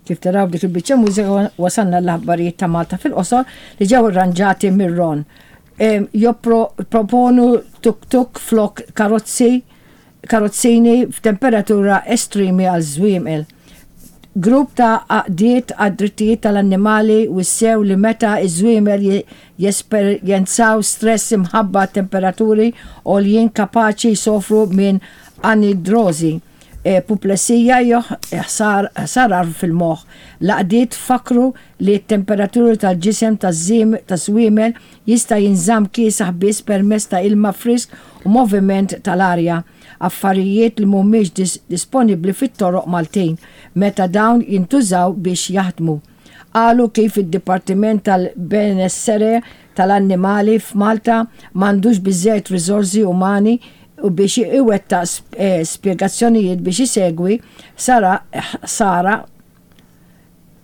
Kif taraw dik il-biċċa mużika wasalna l-aħbarijiet ta' Malta fil-qosor li ġew irranġati mir-Ron. Jopproponu tuk-tuk flok karozzi karozzini f'temperatura estremi għal żwiemel. Grupp ta' għaqdiet għad-drittijiet tal-annimali wissew li meta ż-żwiemel jesperjenzaw stress imħabba temperaturi għoljin kapaċi jsofru minn anidrożi, puplesija jew ħsarar fil-moħħ. L-għaqdiet fakkru li t-temperaturi tal-ġisem taż-żwiemel jista' jinżamm kiesaħ biss permezz ta' ilma frisk u moviment tal-arja, affarijiet li mhumiex disponibbli fit-toroq Maltin meta dawn jintużaw biex jaħdmu. Qalu kif id-Dipartiment tal-Benessere tal-Annimali f'Malta m'għandux biżżejjed riżorsi umani biex iwettaq spjegazzjonijiet biex isegwi ħsara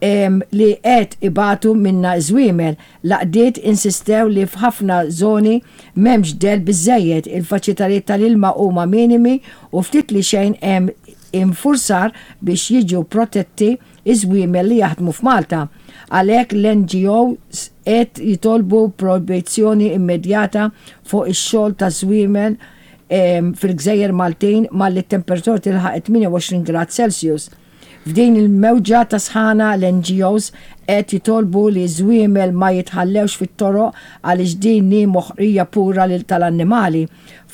li qed ibatu minnha ż-żwiemel. L-għaqdiet insistew li f'ħafna żoni m'hemmx dell biżżejjed, il-faċilitajiet tal-ilma huma minimi u ftit li xejn hemm infurzar biex jiġu protetti ż-żwiemel li jaħdmu f'Malta. Għalhekk l-NGOs qed jitolbu projbizzjoni immedjata fuq ix-xogħol taż-żwiemel fil-gżejjer Maltin malli t-temperatura tilħaq it-28 grad Celsius. F'din il-mewġa ta' sħana l-NGOs qed jitolbu li ż-żwiemel ma jitħallewx fit-toroq għaliex din hi moħqrija pura lil tal-annimali.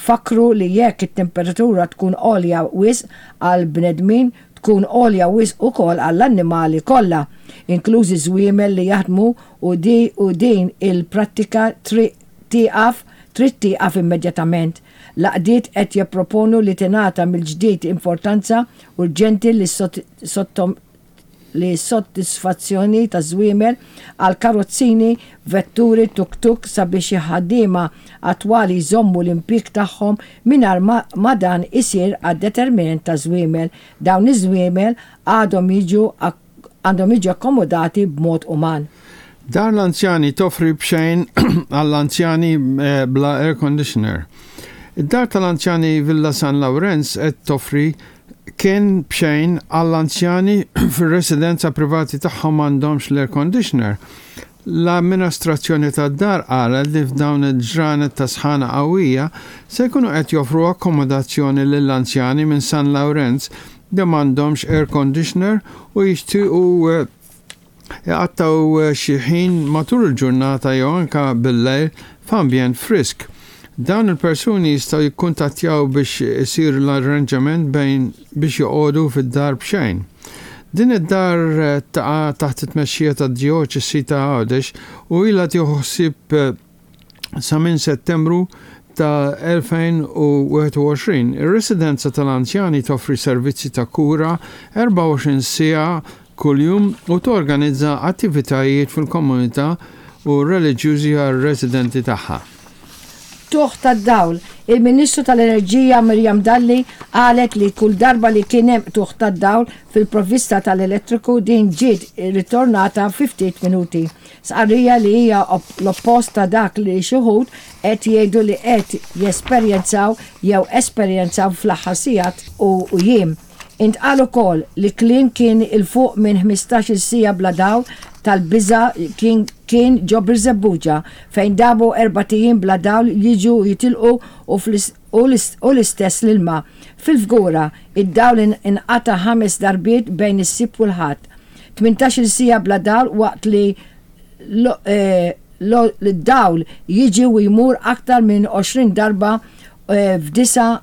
Fakkru li jekk it-temperatura tkun għolja wisq għall-bnedmin tkun għolja wisq ukoll għall-annimali kollha, inklużi ż-żwiemel li jaħdmu u u din il-prattika tieqaf trid tieqaf immedjatament. L-għaqdiet qed jipproponu li tingħata mill-ġdid importanza urġenti lis-sodisfazzjoni taż-żwiemel għal karozzini, vetturi tuk-tuk sabiex il-ħaddiema attwali jżommu l-impjieg tagħhom mingħajr ma dan isir għad-detriment taż-żwiemel. Dawn iż-żwiemel għadhom jiġu għandhom jiġu akkomodati b'mod uman. Dar l-anzjani toffri b'xejn għall-anzjani bla air conditioner. Id-dar tal-anzjani Villa San Lawrenz qed toffri kenn b'xejn għall-anzjani fir-residenza privati tagħhom m'għandhomx l-air conditioner. L-amminastrazzjoni tad-dar qalet li f'dawn il-ġranet ta' sħana qawwija se jkunu qed joffru akkomodazzjoni lill-anzjani minn San Lawrenz li m'għandhomx air conditioner u jixtiequ iqattgħu xi ħin matul il-ġurnata jew anke bil-lejl f'ambjent frisk. Dawn il-persuni jistgħu jikkuntattjaw biex isir l-arranġament bejn biex joqogħdu fid-dar b'xejn. Din id-dar taqa' taħt it-tmexxija tad-Djoċesi ta' Għawdex u ilha tieħu ħsieb sa minn Settembru ta' 2021. Ir-residenza tal-anzjani toffri servizzi ta' kura 24 siegħa kuljum u torganizza attivitajiet fil-komunità u reliġjużi għar-residenti tagħha. Qtugħ tad-dawl, Il-Ministru tal-Enerġija Miriam Dalli qalet li kull darba li kien hemm qtugħ tad-dawl fil-provvista tal-elettriku din ġiet ritornata fi ftit minuti. Stqarrija li hija l-oppost ta' dak li xi wħud qed jgħidu li qed jesperjenzaw jew esperjenzaw fl-aħħar sigħat u jiem. Intqal ukoll li kliem kien 'il fuq minn 15-il siegħa bla dawl tal-biża' kien kien ġo Birżebbuġa fejn damu erbat ijiem bla dawl jiġu u jitilqu u u l-istess l-ilma. Fil-Fgura, id-dawl inqata' ħames darbiet bejn is-Sibt u l-Ħadd. 18-il siegħa bla dawl waqt li l-dawl jiġi u jmur aktar minn 20 darba f'disa'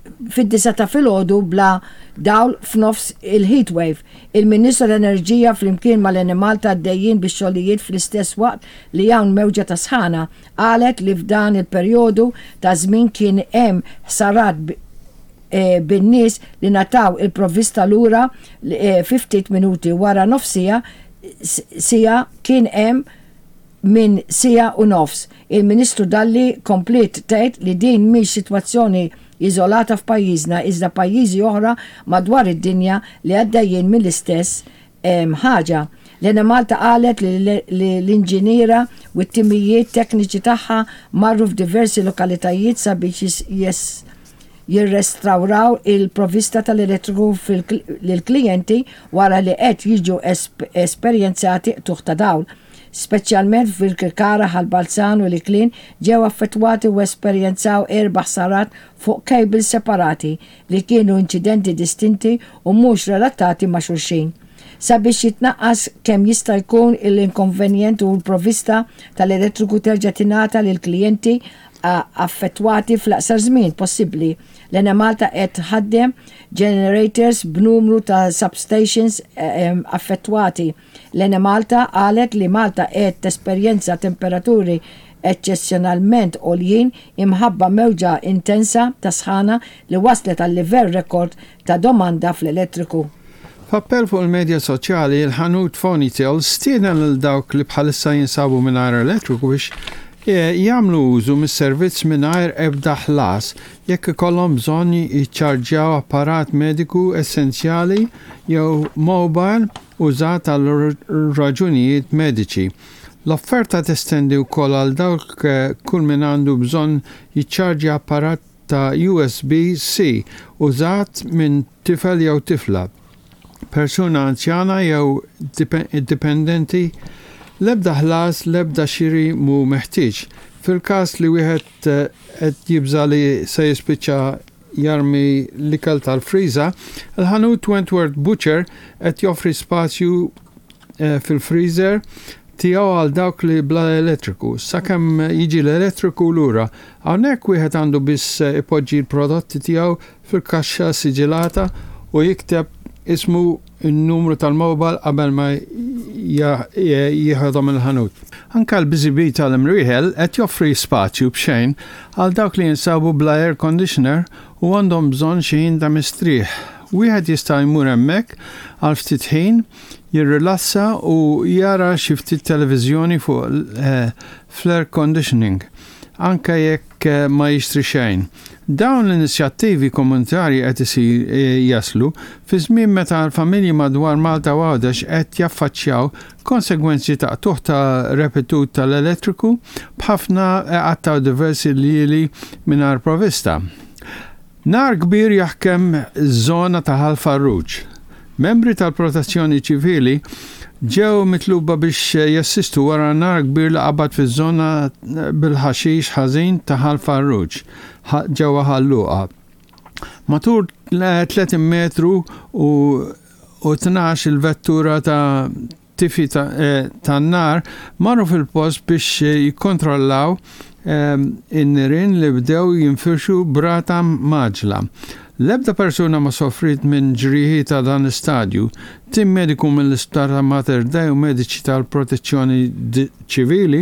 fid-disgħa ta' filgħodu bla dawl f'nofs il-heatwave. Il-Ministru tal-Enerġija flimkien mal-Enemalta għaddejjin bix-xogħlijiet fl-istess waqt li hawn mewġa ta' sħana. Qalet li f'dan il-perjodu ta' żmien kien hemm ħsarat bin-nies li ngħataw il-provvista lura fi ftit minuti wara nofs siegħa siegħa kien hemm minn siegħa u nofs. Il-Ministru Dalli kompliet tgħid li din mhix sitwazzjoni iżolata f'pajjiżna iżda pajjiżi oħra madwar id-dinja li għaddejjin mill-istess ħaġa. L-Enemalta qalet li l-inġiniera u t-timijiet tekniċi tagħha marru f'diversi lokalitajiet sabiex jirrestawraw il-provvista tal-elettriku lill-klijenti wara li qed jiġu esperjenzati qtugħ ta' dawl. Speċjalment f'Birkirkara, Ħal Balzan u l-Iklin ġew affettwati u esperjenzaw erba' ħsarat fuq cables separati li kienu inċidenti distinti u mhux relatati ma' xulxin. Sabiex jitnaqqas kemm jista' jkun l-inkonvenjent u l-provvista tal-elettriku terġa' tingħata lill-klijenti affettwati fl-aqsar żmien possibbli, l-Enemalta qed tħaddem generators b'numru ta' substations affettwati. L-Enemalta qalet li Malta qed tesperjenza temperaturi eċċezzjonalment għoljin imħabba mewġa intensa ta' sħana li wasslet għal livell rekord ta' domanda fl-elettriku. F'appell fuq il-medja soċjali, il-ħanut Fonytel stieden lil dawk li bħalissa jinsabu mingħajr elettriku biex jagħmlu użu mis-servizz mingħajr ebda ħlas jekk ikollhom bżonn jiċċarġjaw apparat mediku essenzjali jew mobile użat għal raġunijiet mediċi. L-offerta testendi wkoll għal dawk kull min għandu bżonn jiċċarġja apparat ta' USB-C użat minn tifel jew tifla, persuna anzjana jew dipendenti. L-ebda ħlas, l-ebda xiri mhu meħtieġ. Fil-każ li wieħed qed jibża' li se jispiċċa jarmi l-ikel tal-friża, il-ħanut Wentworth Butcher qed joffri spazju fil-freezer tiegħu għal dawk li bla elettriku, sakemm jiġi l-elettriku lura. Hawnhekk wieħed għandu biss ipoġġi l-prodotti tiegħu fil-kaxxa siġilata u jikteb ismu n-numru tal-mobile qabel ma jieħodhom il-ħanut. Anke l-Busy Bee tal-Imrieħel qed joffri spazju b'xejn għal dawk li jinsabu bla air conditioner u għandhom bżonn xi ħin ta' mistrieħ. Wieħed jista' jmur hemmhekk għal ftit ħin, jirrilassa u jara xi ftit televiżjoni fuq fl-air conditioning, anke jekk ma jixtri xejn. Dawn l-inizjattivi komunitarji qed isir jaslu fi żmien meta l-familji madwar Malta u Għawdex qed jaffaċċjaw konsegwenzi ta' qtugħ ta' repetut tal-elettriku b'ħafna iqattgħu diversi ljieli mingħajr provvista. Nar kbir jaħkem żona ta' Ħal Farruġ. Membri tal-Protezzjoni Ċivili ġew mitluba biex jassistu wara nar kbir li qabad fiż-żona bil-ħaxix ħażin ta' Ħal Farruġ, ġewwa Ħal Luqa. Matul 30 metru u 12 il-vettura ta' tifi tan-nar marru fil-post biex jikkontrollaw in-nirien li bdew jinfirxu b'rata mgħaġġla. L-ebda persuna ma sofriet minn ġrieħi ta' dan l-istadju. Tim mediku mill-Isptar ta' Mater Dei u mediċi tal-Protezzjoni Ċivili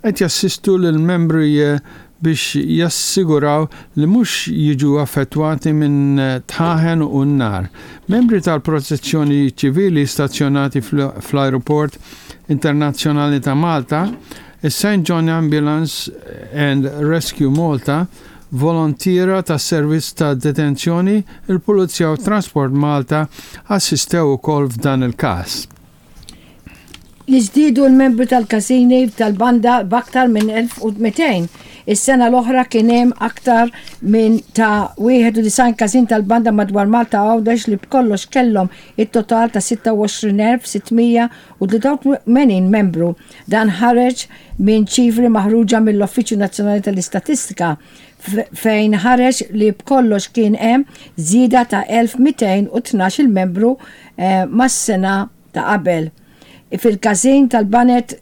qed jassistu lill-membri biex jassiguraw li mhux jiġu affettwati minn dħaħen u n-nar. Membri tal-Protezzjoni Ċivili stazzjonati fl-Ajruport Internazzjonali ta' Malta, is-St John Ambulance and Rescue Malta, volontiera tas-Servizz ta' Detenzjoni, il-Pulizija u Transport Malta assistew ukoll f'dan il-każ. Jiżdiedu l-membri tal-każini tal-banda b'aktar minn 1,200. Is-sena l-oħra kien hemm aktar minn ta' 91 każin tal-banda madwar Malta u Għawdex li b'kollox kellhom it-total ta' 26,683 membru. Dan ħareġ minn ċifri maħruġa mill-Uffiċċju Nazzjonali tal-Istatistika fejn ħareġ li b'kollox kien hemm żieda ta' 1,212 il-membru mas-sena ta' qabel. Fil-każin tal-baned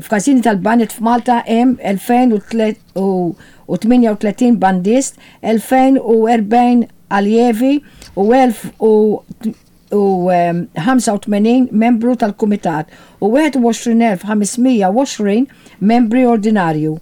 f'każini tal-baned f'Malta hemm 2,038 bandist, 2,040 aljevi u 1,085 membru tal-kumitat u 21,520 membri ordinarju.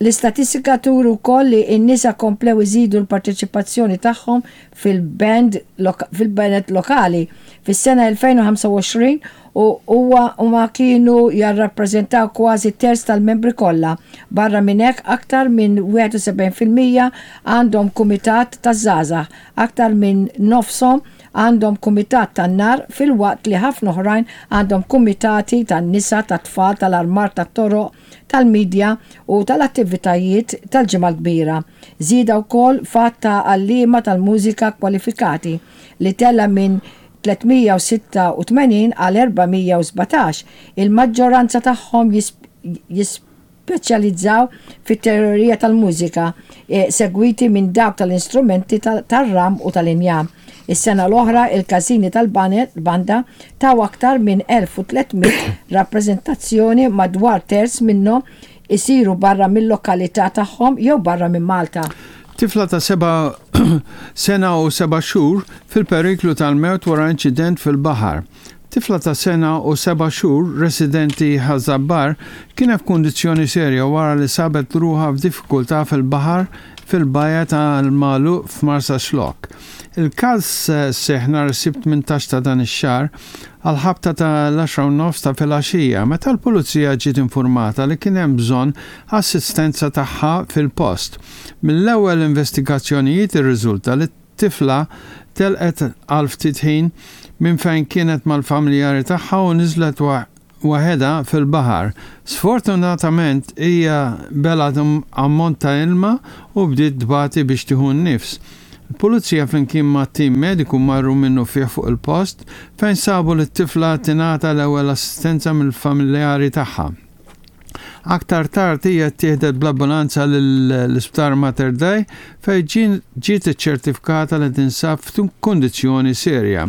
L-istatistika turi wkoll li n-nisa komplew iżidu l-parteċipazzjoni tagħhom fil-band fil-baned lokali fis-sena 2025 u huwa huma kienu jarrappreżentaw kważi terz tal-membri kollha. Barra minn hekk aktar minn 71% għandhom kumitat taż-żgħażagħ, aktar minn nofshom għandhom kumitat tan-nar filwaqt li ħafna oħrajn għandhom kumitati tan-nisa, tat-tfal, tal-armar tat-toroq, tal-midja u tal-attivitajiet tal-Ġimgħa l-Kbira. Żieda wkoll f'għadd ta' għalliema tal-mużika kwalifikati li tela' minn 386 għal 417, il-maġġoranza tagħhom jispeċjalizzaw fit-teorija tal-mużika, segwiti minn dawk tal-istrumenti tar-ram u tal-injam. Is-sena l-oħra il-każini tal-banda taw aktar minn 1,300 rappreżentazzjoni madwar terz minnhom isiru barra mil-lokalità tagħhom jew barra minn Malta. Tifla ta' seba' sena u seba' xhur fil-periklu tal-mewt wara inċident fil-baħar. Tifla ta' sena u seba' xhur residenti Ħaż-Żabbar kienet f'kundizzjoni serja wara li sabet ruħha f'diffikultà fil-baħar fil-bajja tal-Magħluq f'Marsaxlokk. Il-każ seħħ nhar is-Sibt 18 ta' dan ix-xahar għall-ħabta ta' l-għaxra u nofs ta' filgħaxija meta l-Pulizija ġiet infurmata li kien hemm bżonn assistenza tagħha fil-post. Mill-ewwel investigazzjonijiet irriżulta li t-tifla telqet għal ftit ħin minn fejn kienet mal-familjari tagħha u niżlet waħedha fil-baħar. Sfortunatament hija belgħet ammont ta' ilma u bdiet tbati biex tieħu n-nifs. Il-Pulizija flimkien ma' tim mediku marru minnufih fuq il-post fejn sabu lit-tifla tingħata l-ewwel assistenza mill-familjari tagħha. Aktar tard hija ttieħdet bl-ambulanza lill-Isptar Mater Dei fejn ġiet iċċertifikata li tinsab f'kundizzjoni serja.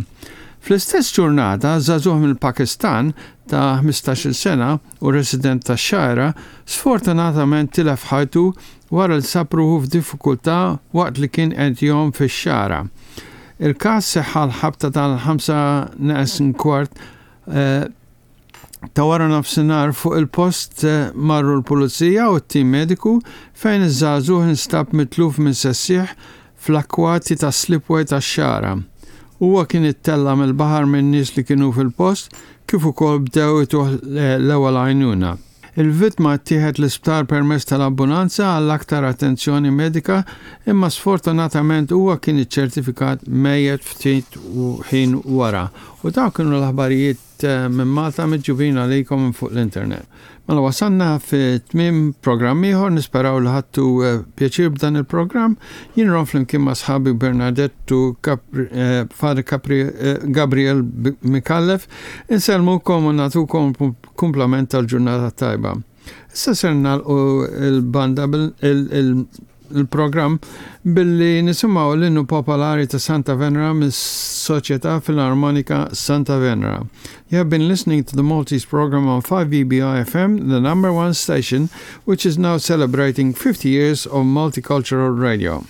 Fl-istess ġurnata, żagħżugħ mill-Pakistan ta' 15-il sena u resident tax-Xgħajra sfortunatament tilef ħajtu wara li sab ruħu f'diffikultà waqt li kien qed jgħum fix-Xagħra. Il-każ seħħ għall-ħabta tal-ħamsa neqes kwart ta' wara nofsinhar fuq il-post marru l-Pulizija u t-tim mediku fejn iż-żagħżugħ instab mitluf minn sessieħ fl-akkwati tas-slipway tax-Xagħra. Huwa kien ittella' mill-baħar minn nies li kienu fil-post kif ukoll bdew ituh l-ewwel għajnuna. Il-vittma ttieħed l-isptar permezz tal-ambulanza għal aktar attenzjoni medika imma sfortunatament huwa kien iċċertifikat mejjet ftit ħin wara. U dawk kienu l-aħbarijiet minn Malta miġjubin għalikom minn fuq l-internet. Mela wasalna fi tmiem programm ieħor, nisperaw li ħadtu eh, pjaċir b'dan il-programm. Jien ron flimkien ma' sħabi Bernadettu eh, Father Capri, eh, Gabriel Mikallef, insellmukom u nagħtukom kumplament tal-ġurnata tajba. Issa ser nagħlqu il-banda il-programm billi nisimgħu l-innu popolari ta' Santa Venera mis-Soċjetà Filarmonika Santa Venera. You have been listening to the Maltese program on 5EBI FM, the number one station, which is now celebrating 50 years of multicultural radio.